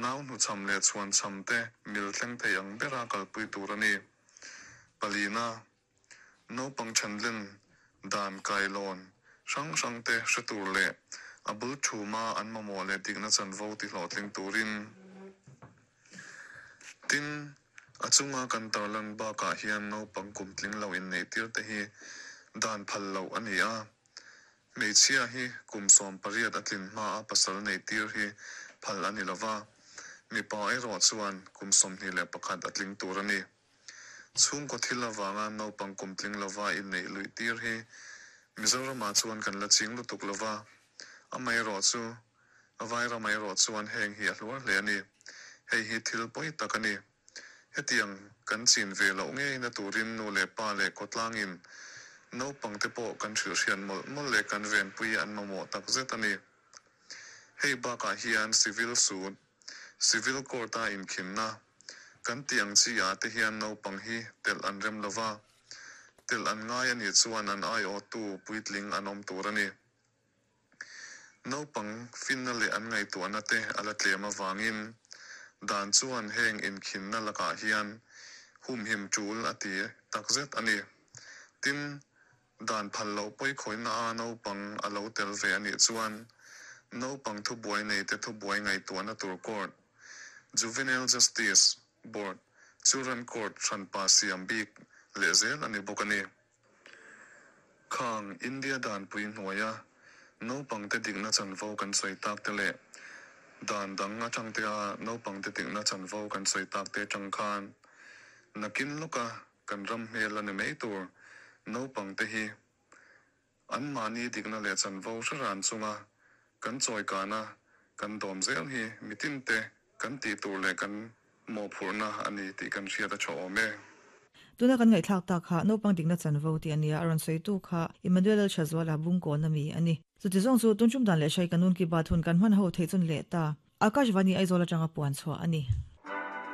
Nau hnuchham leh chhuanchham te mil thleng thei ang bera kalpui tur a ni. Palina, Naupang thanlen dan kailawn hrang hrang te hre tur leh a bul thuma an mamawh leh dikna chanvo ti hlawhtling turin. Tin, a chunga kan tarlan bakah hian naupang kum tling lo inneihtir te hi dan phal loh a ni a. Hmeichhia hi kum 18 a tlin hmaa pasal neihtir hi phal a ni lo va, mipa erawh chuan kum 21 a tling tur a ni. Chhungkaw thil avanga naupang kum tling lova inneih luihtir hi Mizoramah chuan kan la ching lutuk lo va, amaherawh chu Vairamah erawh chuan heng hi a hluar hle a ni. Hei hi thil pawi tak a ni. Hetiang kan chin ve loh ngeina turin nu leh pa leh khawtlangin naupangte pawh kan hrilhhriat mawlh mawlh leh kan venpui an mamawh takzet a ni. Hei bakah hian civil suit, civil court-a inkhinna kan tih ang chi ah te hian naupang hi telh an rem lo va, telh an ngai a nih chuan an aiawhtu puitling an awm tur a ni. Naupang finna leh an ngaihtuahna te a la tlem avangin dan chuan heng inkhinna lakah hian humhim tul a ti takzet a ni. Tin, dan phal loh pawikhawihna a naupang a lo tel ve a nih chuan naupang thubuai neite thubuai ngaihtuahna tur court, Juvenile Justice Board, Children Court hranpa siam bik leh zel a ni bawk a ni. Khang India danpui hnuaia naupangte dikna chanvo kan sawi tak te leh dan dang atangtea naupangte dikna chanvo kan sawi tak te atang khan nakin lawka kan ram hmel a ni mai tur naupangte hi Anmahni dikna leh chanvo hre ran chunga kan chawikana kan dawm zel hi mitinte kan tih tur leh kan mawhphurhna a ni tih kan hriat a tha awm e. Tuna kan ngaihthlak tak kha naupang dikna chanvo tih a nia, a rawn sawitu kha Emmanuel Lalthazuala Bungkawn ami a ni. Chuti zawng chu tun tum dan leh hrai ka nun ki bat hun kan hman ho theih chun leh ta. Akashvani Aizawl atanga puan chhuah a ni.